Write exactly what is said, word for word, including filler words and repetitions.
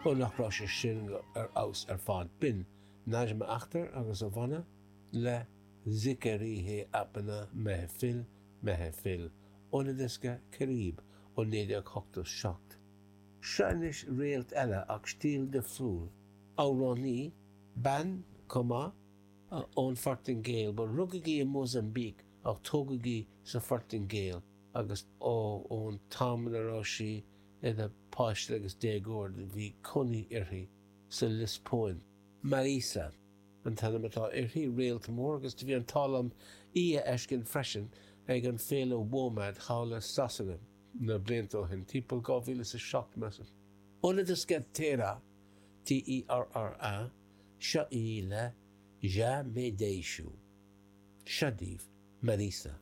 Ó nach raibh sé sin ar fheabhas ar fad. B'in Najma Akhtar agus a bhanna le Zikr-e Apna Mehfil Mehfil óna diosca Kareeb ó naoi déag ochtó seacht. Seo anois réalt eile ach stíl difriúil. Amhránaí, bean chomh maith, ón Phortaingéil. Bhuel, rugadh í i Mósaimbíc ach tógadh í sa Phortaingéil agus ó ón t-am ina raibh sí ina páiste agus déagóir bhí cónaí uirthi sa Liospóin. Mariza an t-ainm atá uirthi, réalt mór, agus do bhí an t-ádh liom í a fheiscint freisin ag an féile WOMAD thall i Sasana na blianta ó shin, timpeall dhá mhíle is a seacht, measaim. Óna diosca Terra, T E R R A, seo í le Já Me Deixo. Seo daoibh Mariza.